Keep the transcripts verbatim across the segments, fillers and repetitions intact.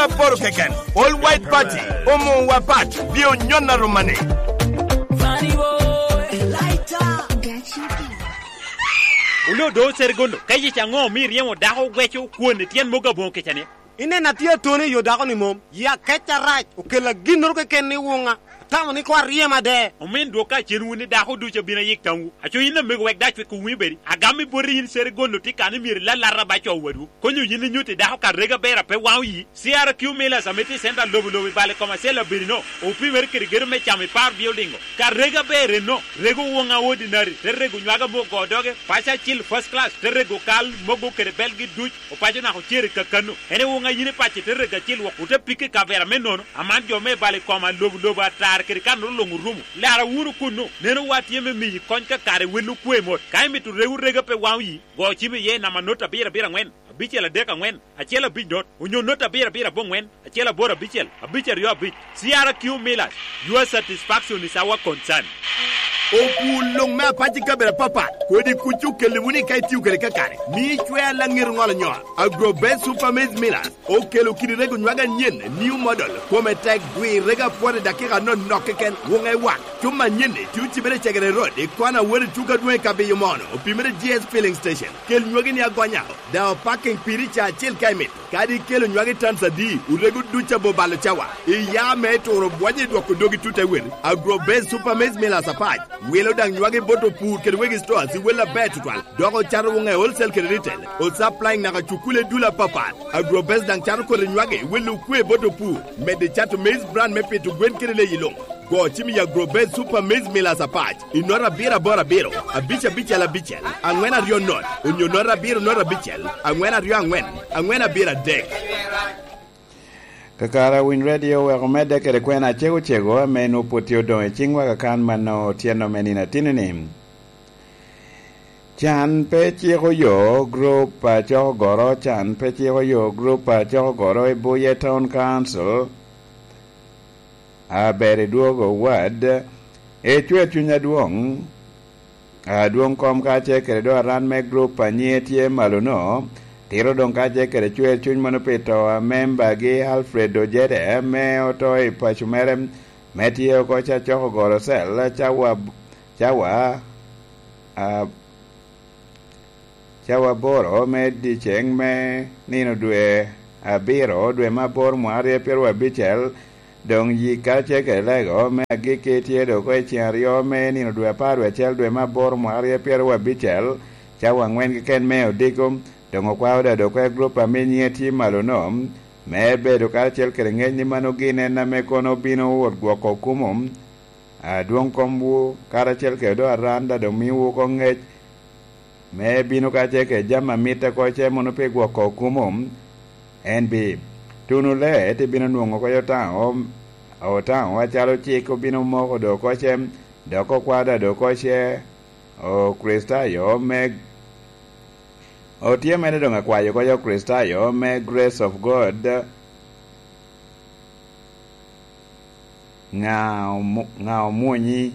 Aporo keken, All White Party, omo wa pat, bi onyon aroma ni. Oloo do Oceregondo, ka yec aŋo omio iryemo dako oweco kwon i tyen mogo aboŋo kica ni? Ineno atye atoni i yo dako-ni mom, ya kec arac, okella ginnoro keken ni wuŋa. Atamo ni koŋ aryem ade. Omin dwok kacen wun i dako ducu abino ayik tamwu. Aco yin amego wek dac wek owinyo bedi. Agam i boti yin Ceregondo tye kan i myero ilalata ba co wadwu. Konyo yin inyutti dako ka rega ber a pe waŋo yi. C R Q Millers ame tye i center lobo lobo i bal i kom acel abedi no, opimere kede gedo me camo i par building o. Ka rega ber enno, rego woŋa ordinary, te rego nywaga me ogo doge, paco acil first class, te rego kal, mogo kede belgi duc, opaco naka ocere kakano. En i woŋa yin i paco te rego acil wok, ote pikke i kavera me nono. Aman jo me balo i koma lobo lobo atar kede kan ru luŋ orumo. Lara wunu kunnu, neno wa tye me miyi kony ka kare wel okwe mot. Ka imito rego rega pe waŋ oyi, go cim iye i namba not abiro abiro aŋwen, abicel adek aŋwen, acel abic not, onyo not abiro abiro aboŋwen, acel aboro abicel, abic aryo abic. C R Q Millers, your satisfaction is our concern. Opur luŋ me apac i kabedo apapat, kodi kuc okelli wunu ka itio kede kakare. Mi icwer laŋet oŋolo nyol. Agrobest Super Maize Millers. Okelo kidi rego nywag anyen, new model, kome tek, gwirrege apwot i dakika anonok keken, woŋe wak. Cuma anyen-ni tye ocibere i Cegere Road, i kona wot i tuko adwoŋ i Kabiyo Mono, opimere G S Filling Station. Kel nywagi ni agonya, daŋ opaking piri ca acel ka imito. Kadi ikelo nywagi tons adi, orego duc abo balo cawa. Iya me turo bwonyo i dwoko dogi tut te wel. Agrobase Super Maize Millers apac, wilo daŋ nywagi bot opur kede wegi stores i wel aber tutwal. Dok ocato woŋe wholesale kede retail. Osupplying naka cukule dul apapat. Agrobase daŋ cato koti nywagi, welo okwe bot opur. Medde cato maize bran me pito gwen kede leyi luŋ. Go cim i Agrobase Super Maize Millers apac, i nota abiro aboro abiro, abic abicel abicel, aŋwen aryo not, onyo nota abiro not abicel, aŋwen aryo aŋwen, aŋwen abiro adek. Kakare Winy Radio oweko medde kede kwena acego cego ame nwoŋo pwod tye odoŋ i ciŋwa kakan mano otyeno me nino atini-ni. Can pe ciko yo grup a coko goro, can pe ciko yo grup a coko goro i Buye Town Council. Aber i dwogo wad, icwer cuny adwoŋ, adwoŋ kom kacel kede do aran me grup a nyiŋe tye malo-no, tito doŋ kacel kede cwer cuny mono pi to a membagi Alfred Ojede ame oto i paco mere, me tye oko ca coko goro cel cawa, cawa, a, cawa aboro me dyeceŋ me nino dwe abiro, dwe me aboro mwaka aryo pyeraryo abicel, doŋ yik karacel kede lego me agikki tye doŋ oko i ceŋ aryo me nino dwe apar wie acel, dwe me aboro mwaka aryo pyeraryo abicel, cawa aŋwen keken me odiko. Doŋ okwao da doŋ oko i grup ame nyiŋe tye malo-no, me bedo karacel kede ŋec ni mano gin en ame kono bino wot gwoko kumo adwoŋ komwu, karacel kede doŋ aran da doŋ miwu oko ŋec me bino kacel kede jami a mitte oko ce mono pi gwoko kumo. En bi tuno lee te bino nwoŋo oko i Otaŋo, Otaŋo acalo cik obino moko doŋ oko ce, dok okwao da doŋ oko ce Okricitayo me, otye mere doŋ akwayo oko ce Okricitayo me Grace of God. Ŋa omu-, ŋa omwonyi?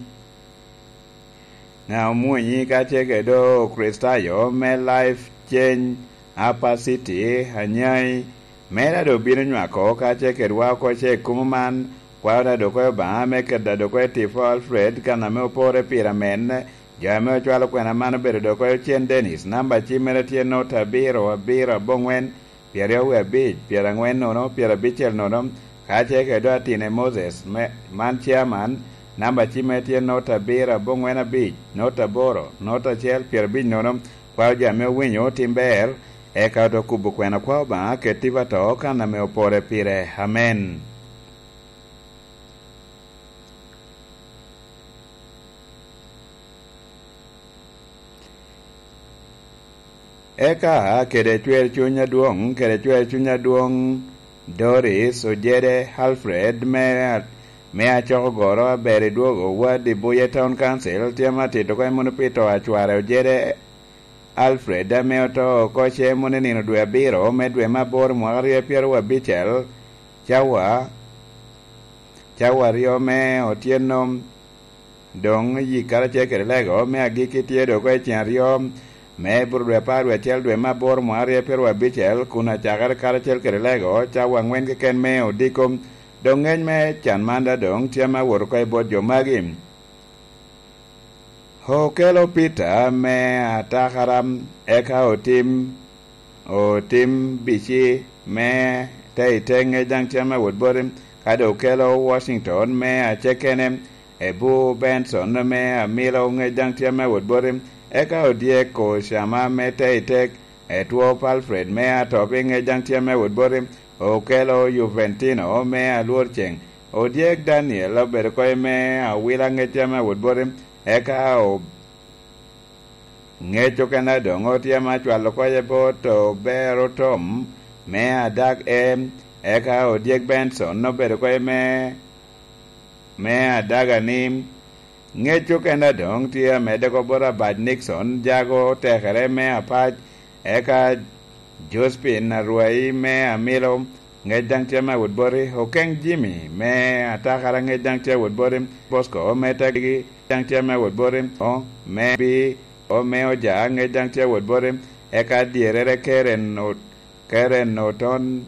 Ŋa omwonyi ka ce kede Okricitayo me Life Change Upper City, Anyai, mere a doŋ bino nywako ka ce kedwa oko ce i kumo man, kwao da doŋ oko i Obaŋa me keto da doŋ oko i tipo Alfred kan ame opore pire amen, jo ame ocwalo kwena man obedo doŋ oko i Ocen Dennis, namba cim mere tye not abiro abiro aboŋwen, pyeraryo wie abic, pyeraŋwen nono, pyerabicel nono, ka ce kede doŋ Atine Moses, me, man chairman, namba cimme tye not abiro aboŋwen abic, not aboro, not acel, pyerabic nono, kwao jo ame owinyo otim ber, eka ote kubo kwena kwao Obaŋa ket tipo ato kan ame opore pire. Amen. Eka kede cwer cuny adwoŋ, kede cwer cuny adwoŋ Doris Ojede Alfred me, me acoko goro aber i dwogo wad i Buye Town Council, tye ma tito oko i mono pi to a cware Ojede Alfred ame oto oko ce mono i nino dwe abiro me dwe me aboro mwaka aryo pyeraryo abicel, cawa, cawa aryo me otyeno. Doŋ yik karacel kede lego me agikki tye doŋ oko i ceŋ aryo, me Ibru dwe apar dwe acel dwe me aboro mwa aryo pyeraryo abicel, kun acakere karacel kede Lego cawa aŋwen keken me odiko. Doŋ ŋec me can man daŋ doŋ tye ame awot oko i bot jo magi. Okelo Peter me atakara, eka otim, otim bici me te i te ŋec daŋ tye ame awot boti, ka doŋ okelo Washington me acekene, ebu Benson me amilo ŋec daŋ tye ame awot boti, eka odyek Ocama me te i tek, etwop Alfred me atop i ŋec daŋ tye ame awot boti, okelo Juventino me alwor ceŋ, odyek Daniel obedo koye me awila ŋec tye ame awot boti, eka o-, ŋec okene doŋ otye ame acwalo koye bot obero Tom me adag e, eka odyek Benson obedo koye me, me adaga ni, ŋec okene doŋ tye amedde oko bot abac Nixon, jago tekere me apac, eka Jospin arwayi me amilo, ŋec daŋ tye ame awot boti, Okeŋ Jimmy me atakara, ŋec daŋ tye awot boti, Bosco me tegi daŋ tye ame awot boti, o me bi, o me oja, ŋec daŋ tye awot boti, eka dyerere Keren o-, Keren Oton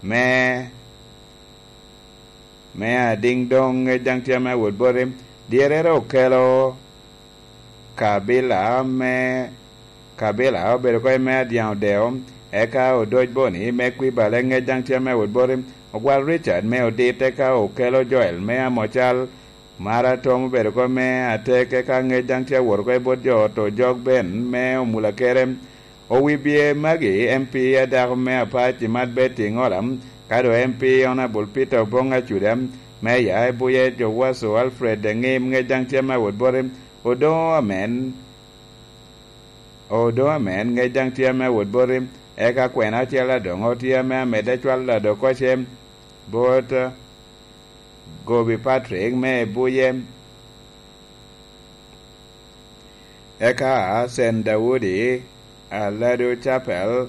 me, me adiŋ doŋ ŋec daŋ tye ame awot boti, dyerere okelo kabila me, kabila obedo koye me adyaŋ odeo, eka odoc boni me kwibale ŋec daŋ tye ame awot boti, ogwal Richard me odit, eka okelo Joel me amocal, Mara Tom obedo koye me atek, eka ŋec daŋ tye awot oko i bot jo ot ojok ben me omula kere. Owi bye magi, M P adako me apac i Mat Betty Ŋola, ka doŋ M P Honorable Peter Oboŋ Acuda, Meya i Buye Jowaso Alfred Eŋim ŋec daŋ tye ame awot boti, Odoŋo Amen, Odoŋo Amen ŋec daŋ tye ame awot boti, eka kwena acel adoŋo tye ame amedde acwalo ado koce bot Gobi Patrick me i Buye, eka Sen Daudi, Aladu Chapel,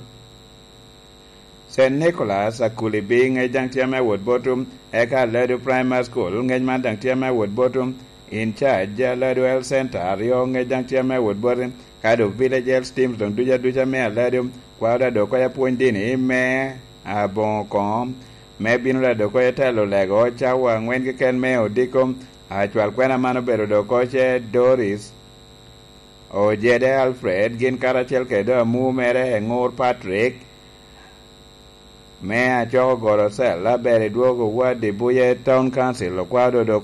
Sen Nicholas Akulibi ŋec daŋ tye ame awot boti, eka Aladu Primary School ŋec man daŋ tye ame awot boti, in charge Aladu Health Center aryo ŋec daŋ tye ame awot boti, ka doŋ Village Health Teams doŋ ducu aduca me Aladu, kwao daŋ doŋ koyo apwony dini me aboŋo koŋo, me bino daŋ doŋ koyo telo lego cawa aŋwen keken me odiko, acwal kwena man obedo doŋ koce Doris, Ojede Alfred, gin karacel kede doŋ amu mere Eŋur Patrick, me acoko goro cell aber i dwogo ward i Buye Town Council, okwao doŋ doŋ